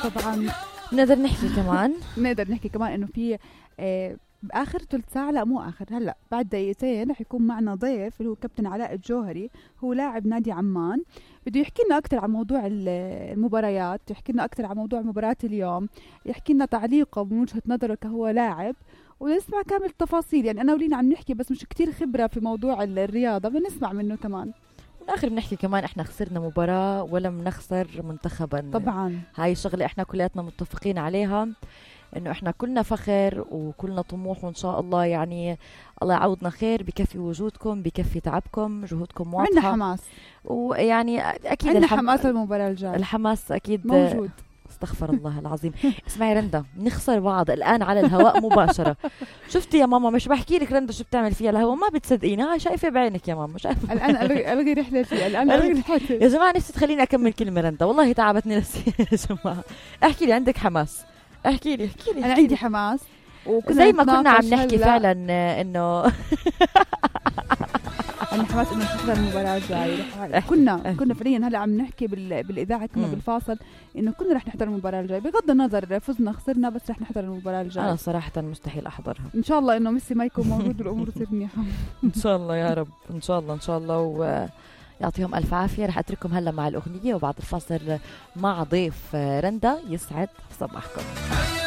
طبعا نقدر نحكي كمان إنه في بآخر ثلث ساعة، لا مو آخر، هلأ بعد دقيقتين رح يكون معنا ضيف اللي هو كابتن علاء الجوهري، هو لاعب نادي عمان. بده يحكي لنا أكتر عن موضوع المباريات، يحكي لنا أكتر عن موضوع مباراة اليوم، يحكي لنا تعليقه من وجهة نظره كهو لاعب، ونسمع كامل التفاصيل. يعني أنا ولينا عم نحكي بس مش كتير خبرة في موضوع الرياضة، بنسمع منه كمان. بالآخر بنحكي كمان إحنا خسرنا مباراة ولم نخسر منتخبا. طبعا هاي الشغلة إحنا كلياتنا متفقين عليها، إنه إحنا كلنا فخر وكلنا طموح، وإن شاء الله يعني الله يعوضنا خير، بكفي وجودكم، بكفي تعبكم، جهودكم واضحة، عندنا حماس، ويعني أكيد عندنا حماس المباراة الجاية، الحماس أكيد موجود. استغفر الله العظيم. اسمعي رندا، نخسر بعض الآن على الهواء مباشرة. شفتي يا ماما؟ مش بحكي لك رندا شو بتعمل فيها الهواء، ما بتصدقيني. ها شايفة بعينك يا ماما، شايفة. الآن ألغي رحلتي، الآن ألغي رحلتي يا جماعة. نفسي تخليني أكمل كلمة رندا، والله تعبتني نفسي. يا جماعة احكي لي، عندك حماس؟ احكي لي. أنا عندي حماس، زي ما كنا عم نحكي فعلا إنه عندنا حماس إنه نحضر المباراة الجاية. كنا فعليا هلا عم نحكي بالإذاعة كنا بالفاصل إنه كنا رح نحضر المباراة الجاية، بغض النظر فزنا خسرنا، بس رح نحضر المباراة الجاية. أنا صراحة مستحيل أحضرها. إن شاء الله إنه ميسي ما يكون موجود والأمور تصير منيحة. إن شاء الله يا رب، إن شاء الله ويعطيهم ألف عافية. رح أترككم هلا مع الأغنية، وبعد الفاصل مع ضيف رندا. يسعد صباحكم.